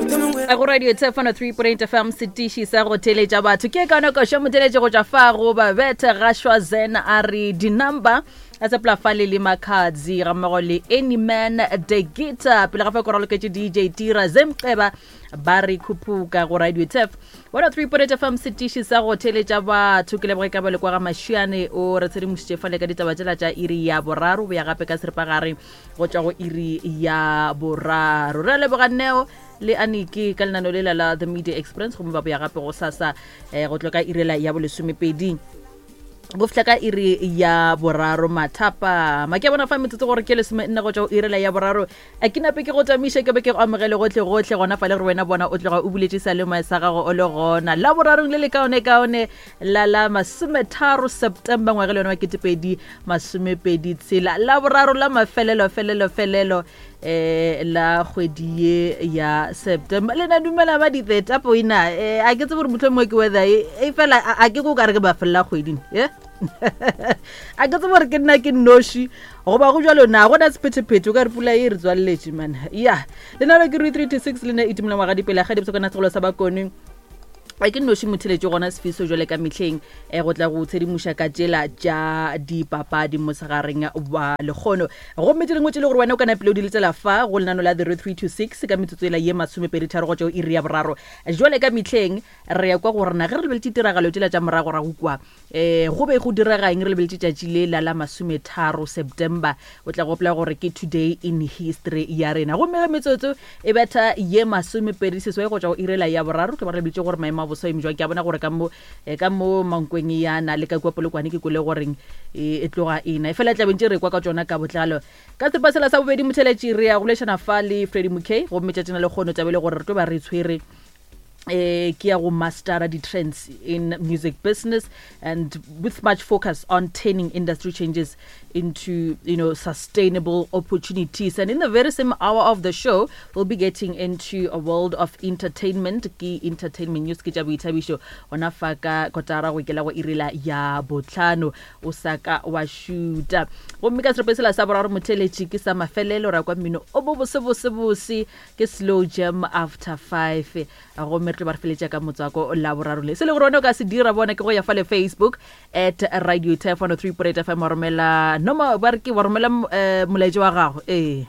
Go radio Tshefano 3.8 FM setiši sa go theletša batho ke ka nako šo motheletše go tšwa fa go ba bethe gašwa zen a re di-number a sepela fale le makhadzi ga mmogo le anyman the guitar pele ga fa ko raloketše dj tira zemqeba ba re khuphuka go radio tef 103.8 fm setiši sa go theletša batho ke leboge ka bale kwa ga mašiane o re tshedimošitše fale ka ditaba tšela tša iri ya boraro boya gape ka seripagare go tšwa go iri ya boraro re a leboga neo le aniki ka lenano lela la the media experience gomme ba boya gape go sasa um go tlo ka irela ya bolesomepedi go fihla ka iri ya boraro mathapama ke a bona fa metsotso gore ke lesome nne go tšwa go irela ya boraro a ke nape ke go tamiše ke be ke go amogele gotlhe gotlhe gona fa le gore wena bona o tloga o buletše salemoya sa gago o le gona la borarong le le kaone kaone la la masometharo september ngwaga le yone wa ketepedi masomepedi tshela la boraro la mafelelo felelo felelo eh la kgwedi ye ya september le na dumela ba di-thetapo ina eh, a ke tsebe gore motlho mongwe ke weather e e fela a ke ko kare ke ba felela kgweding e a ke tsebe gore ke nna ke nnoši goba go jalo na gona sephetephete o ka re pula e re tswaleletše man ya lenalo ke re 3 to 6 le ne e tumela ngwaga dipele ga dipsokana segolo sa bakone a ke nnoši motheletše gona sefiso jwale ka mehleng um go tla go tshedimoša ka tšela tša dipapadi mosegareng wa lekgono gomme tše dingwe tše le gore wena o ka napile o di letsela fa go lenano la the 326 ka metsotso ela ye masomepedi tharo go tšeo iri ya boraro jwale ka mehleng re ya kwa go rena ge re lebeletše tiragalo tšela tša morago rago kwa um go be go direga eng re lebeletše tšatši le la la masometharo september o tla gopola gore ke today in history ya rena gomme ge metsotso e betha ye masomepedi seswai go tšwa go irela ya boraro tlo ba re lebitše gore maemo a boso eme jwang ke a bona gore ka mo eh, ka mo mankweng yana le ka kua polokwane ke kwele goreng e e tloga ena e fela tlabeng tše re kwa ka tšona ka botlalo ka seripa sela sa bobedi motheletši re ya go bolešana fa le freddy mckay gomme tšatšina le kgono tabele gore re tlo ba re tshwere eh ke ya go mastera di-trends in music business and with much focus on turning industry changes into you know sustainable opportunities and in the very same hour of the show we'll be getting into a world of entertainment ke entertainment news ke tša boithabišo gona fa ka kotara go ikela go irela ya botlhano o sa ka wa šuta gomme ka serope sela sa boraro motheletši ke sa mafelelo ra kwa mmino o bo bose bose bose ke slow jam after 5 gomme re tlo ba re feletša ka motswako la boraro le se le gore wena o ka se dira bona ke go ya fa le facebook at radio tef 103.8 fm wa romela noma ba re ke wa romela eh, molaetša wa gago ee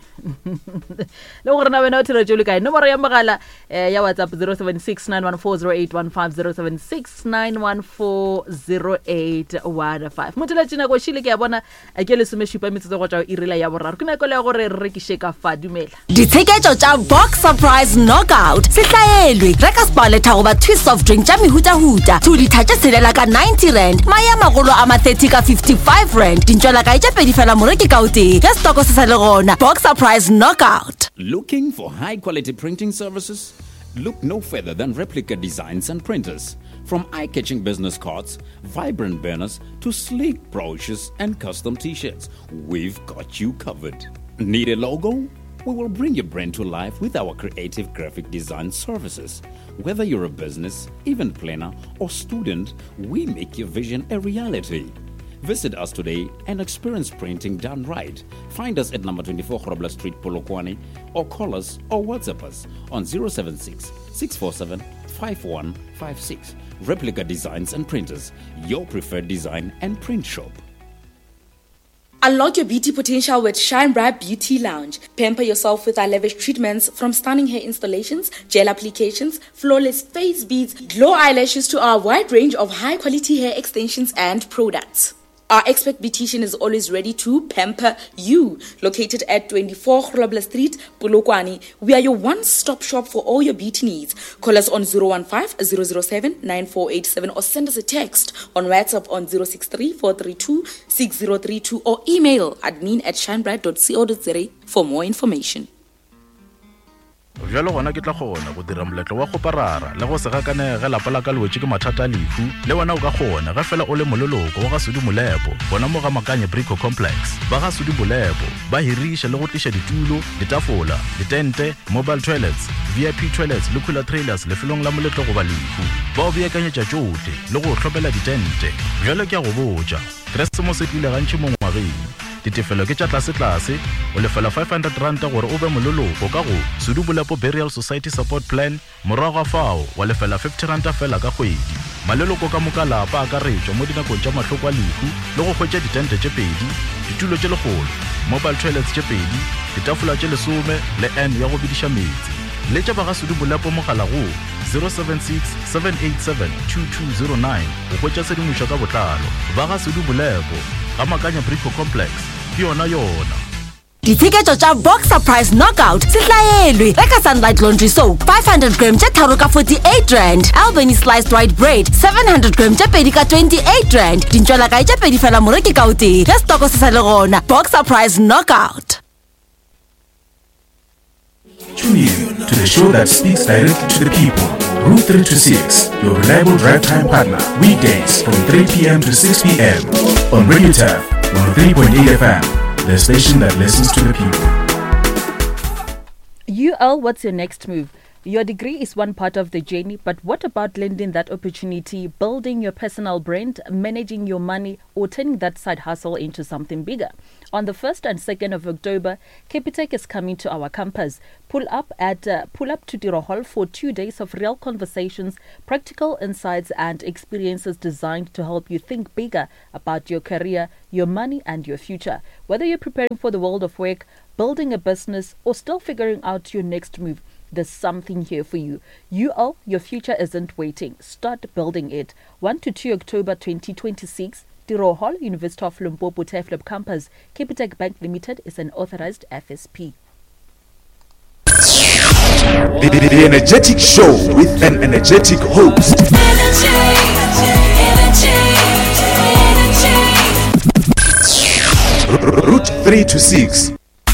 le gore na wena o theletše o le kae nomoro ya mogala eh, ya whatsapp 076 914 0815 076 914 0815 motheletše nako šile ke ya bona A ke lesomešupa metsotso go tšwa go iri la ya boraro. Ke nako ya gore re rekiše ka fa. Dumela. Ditsheketšo tša Box Surprise Knockout se hlaelwe. Reka Sparletta goba Twist soft drink tša mehutahuta, 2 litha tše tshelela ka 90 rand, mae a magolo a ma 30 ka 55 rand, dintšwelakae tše pedi fela moreki ka o tee, ge stoko se sa le gona. Box Surprise Knockout. Looking for high quality printing services? Look no further than Replica Designs and Printers. From eye catching business cards, vibrant banners, to sleek brochures and custom t shirts, we've got you covered. Need a logo? We will bring your brand to life with our creative graphic design services. Whether you're a business, event planner, or student, we make your vision a reality. Visit us today and experience printing done right. Find us at number 24 Grobler Street, Polokwane, or call us or WhatsApp us on 076 647 5156. Replica Designs and Printers, your preferred design and print shop. Unlock your beauty potential with Shine Bright Beauty Lounge. Pamper yourself with our lavish treatments from stunning hair installations, gel applications, flawless face beads, glow eyelashes to our wide range of high quality hair extensions and products. Our expert beautician is always ready to pamper you. Located at 24 Grobler Street, Polokwane, we are your one-stop shop for all your beauty needs. Call us on 015 007 9487 or send us a text on WhatsApp on 063 432 6032 or email admin at shinebright.co.za for more information. Bjalo gona ke tla kgona go dira moletlo wa kgoparara le go se gakanege ge lapa la ka le wetše ke mathata a lehu. Le wena o ka kgona ge fela o le moleloko wa ga Sudi Molepo gona mo ga Makanye Brico Complex. Ba ga Sudi Molepo ba hiriša le go tliša ditulo, ditafola, ditente, mobile toilets, VIP toilets le cooler trailers lefelong la moletlo goba lehu. Ba o beakanyetša tšohle le go o hlopela ditente. Bjalo ke a go botša, Keresemose e tlile gantši mo ngwageng. Ditefelo ke tša tlasetlase, o lefela R500 gore o be moleloko ka go Sudu Bolepo Burial Society Support Plan, morago ga fao wa lefela R50 feela ka kgwedi. Maleloko ka moka lapa a akaretšwa mo dinakong tša mahloko a lehu le go hwetša ditente tše pedi, ditulo tše lekgolo, mobile toilets tše pedi, ditafola tše lesome le urn ya go bediša meetse. Letša ba ga Sudu Bolepo mogala go 076 787 2209 go hwetša tshedimošo ka botlalo. Ba ga Sudu Bolepo, ga Makanya Brico Complex, ke yona yona. Ditsheketšo tša Boxer Price Knockout se hlaelwe. Reka Sunlight Laundry Soap 500 gram tše tharo ka R48, Albany Sliced White Bread 700 gram tše pedi ka R28, dintšwelakae tše pedi fela moreki ka o tee ge setoko se sa le gona. Boxer Price Knockout. Tune in to the show that speaks directly to the people. Route 3 to 6, your reliable drive time partner. Weekdays from 3 p.m. to 6 p.m. on Radio Turf 103.8 FM, the station that listens to the people. UL, what's your next move? Your degree is one part of the journey, but what about lending that opportunity, building your personal brand, managing your money, or turning that side hustle into something bigger? On the 1st and 2nd of October, Capitec is coming to our campus. Pull up at pull up to Tiro Hall for 2 days of real conversations, practical insights and experiences designed to help you think bigger about your career, your money and your future. Whether you're preparing for the world of work, building a business or still figuring out your next move, there's something here for you. UL, your future isn't waiting. Start building it. 1 to 2 October 2026, Tiro Hall, University of Limpopo Turfloop Campus. Capitec Bank Limited is an authorized FSP. The, the, the Energetic Show with an energetic host. Energy, energy, energy. Route 3 to 6.